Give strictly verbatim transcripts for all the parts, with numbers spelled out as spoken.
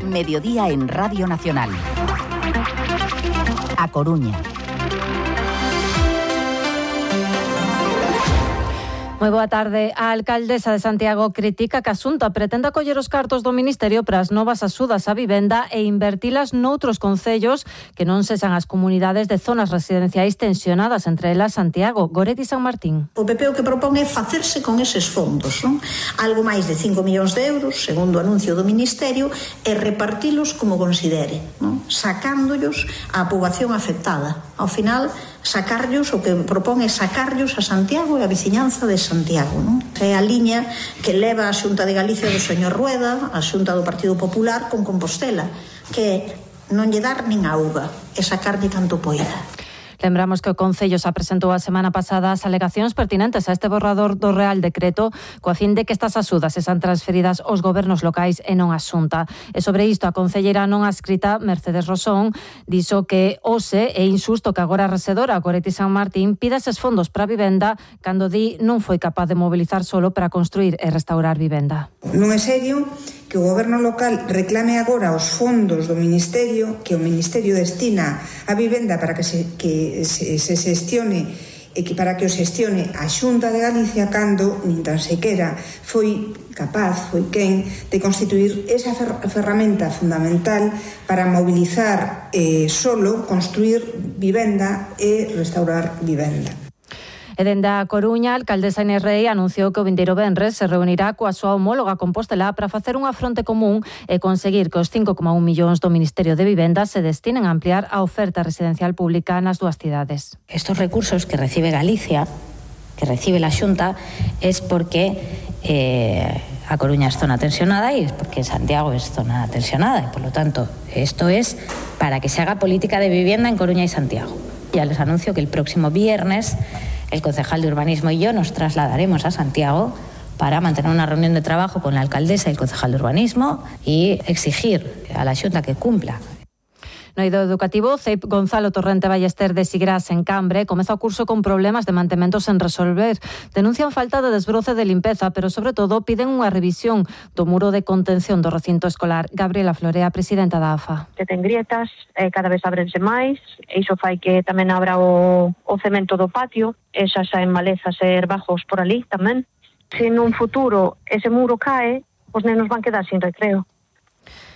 Mediodía en Radio Nacional. A Coruña. Moi boa tarde. A alcaldesa de Santiago critica que a Xunta pretenda coller os cartos do Ministerio para as novas axudas á vivenda e invertilas noutros concellos que non sexan as comunidades de zonas residenciais tensionadas, entre elas Santiago. Goretti San Martín. O P P o que propón é facerse con eses fondos, non? Algo máis de cinco millóns de euros, segundo o anuncio do Ministerio, e repartilos como considere, non? Sacándollos á poboación afectada. Ao final, sacarllos, o que propón é sacarllos a Santiago e a veciñanza de Santiago, non? É a liña que leva a Xunta de Galicia do señor Rueda, a Xunta do Partido Popular con Compostela, que non lle dar nin a uva, e sacarlle canto poida. Lembramos que o Concello se apresentou a semana pasada as alegacións pertinentes a este borrador do Real Decreto coa fin de que estas axudas sean transferidas aos gobernos locais e non á Xunta. E sobre isto, a concelleira non adscrita, Mercedes Rosón, dixo que hoxe é injusto que agora a resedora Goretti San Martín pida eses fondos para a vivenda cando di non foi capaz de mobilizar solo para construir e restaurar vivenda. Non é serio que o goberno local reclame agora os fondos do Ministerio, que o Ministerio destina a vivenda para que se, que se, se xestione e que para que o xestione a Xunta de Galicia cando nin tan sequera foi capaz, foi quen de constituir esa fer ferramenta fundamental para mobilizar eh, solo, construir vivenda e restaurar vivenda. E dende a Coruña, a alcaldesa Inés Rei anunciou que o vindeiro venres se reunirá coa súa homóloga Compostela para facer unha fronte común e conseguir que os cinco coma un millóns do Ministerio de Vivenda se destinen a ampliar a oferta residencial pública nas dúas cidades. Estos recursos que recibe Galicia, que recibe la Xunta, es porque eh, a Coruña es zona tensionada y es porque Santiago es zona tensionada y por lo tanto esto es para que se haga política de vivienda en Coruña y Santiago. Ya les anuncio que el próximo viernes el concejal de urbanismo y yo nos trasladaremos a Santiago para mantener una reunión de trabajo con la alcaldesa y el concejal de urbanismo y exigir a la Xunta que cumpla. No eido educativo, C E I P Gonzalo Torrente Ballester de Sigrás, en Cambre, comeza o curso con problemas de mantemento sen resolver. Denuncian falta de desbroce de limpeza, pero sobre todo piden unha revisión do muro de contención do recinto escolar. Gabriela Florea, presidenta da A F A. Que ten grietas, eh, cada vez abrense máis, e iso fai que tamén abra o, o cemento do patio, e xa saen malezas e herbajos por ali tamén. Se nun futuro ese muro cae, os nenos van quedar sin recreo.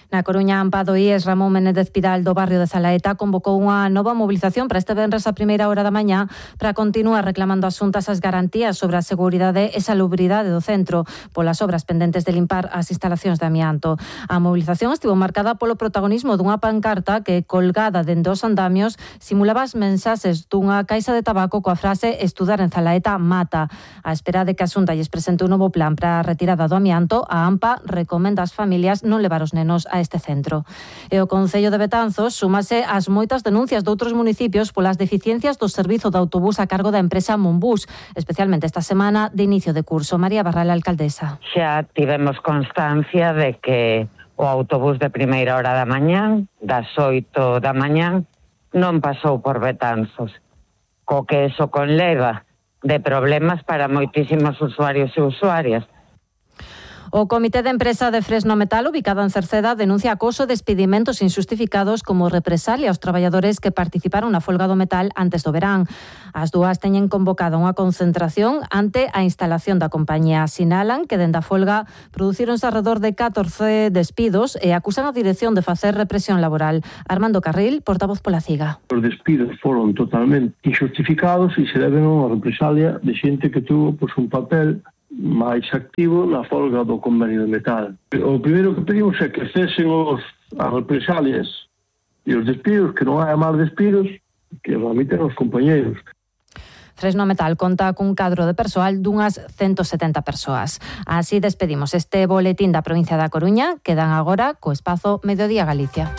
Na Coruña, Ampado I E S Ramón Menéndez Pidal do barrio de Zalaeta convocou unha nova mobilización para este venres a primeira hora da mañá para continuar reclamando as xuntas as garantías sobre a seguridade e salubridade do centro polas obras pendentes de limpar as instalacións de amianto. A mobilización estivo marcada polo protagonismo dunha pancarta que, colgada dende os andamios, simulaba as mensaxes dunha caixa de tabaco coa frase "Estudar en Zalaeta mata". A espera de que a Xunta lles presente un novo plan para a retirada do amianto, a AMPA recomenda ás familias non levar os nenos a este centro. E o Concello de Betanzos súmase ás moitas denuncias doutros municipios polas deficiencias do servizo de autobús a cargo da empresa Monbús, especialmente esta semana de inicio de curso. María Barral, alcaldesa. Xa tivemos constancia de que o autobús de primeira hora da mañán, das oito da mañán, non pasou por Betanzos, co que eso conleva de problemas para moitísimos usuarios e usuarias. O Comité de Empresa de Fresno Metal, ubicado en Cerceda, denuncia acoso e despedimentos injustificados como represalia aos traballadores que participaron na folga do metal antes do verán. As dúas teñen convocado unha concentración ante a instalación da compañía. Sinalan que dende a folga producironse alrededor de catorce despidos e acusan a dirección de facer represión laboral. Armando Carril, portavoz pola CIGA. Os despidos foron totalmente injustificados e se deben a unha represalia de xente que tuvo pues, un papel máis activo na folga do convenio de metal. O primeiro que pedimos é que cesen os, as represalias e os despidos, que non hai máis despidos, que remiten os compañeiros. Fresno Metal conta cun cadro de persoal dunhas ciento setenta persoas. Así despedimos este boletín da provincia da Coruña. Quedan agora co espazo Mediodía Galicia.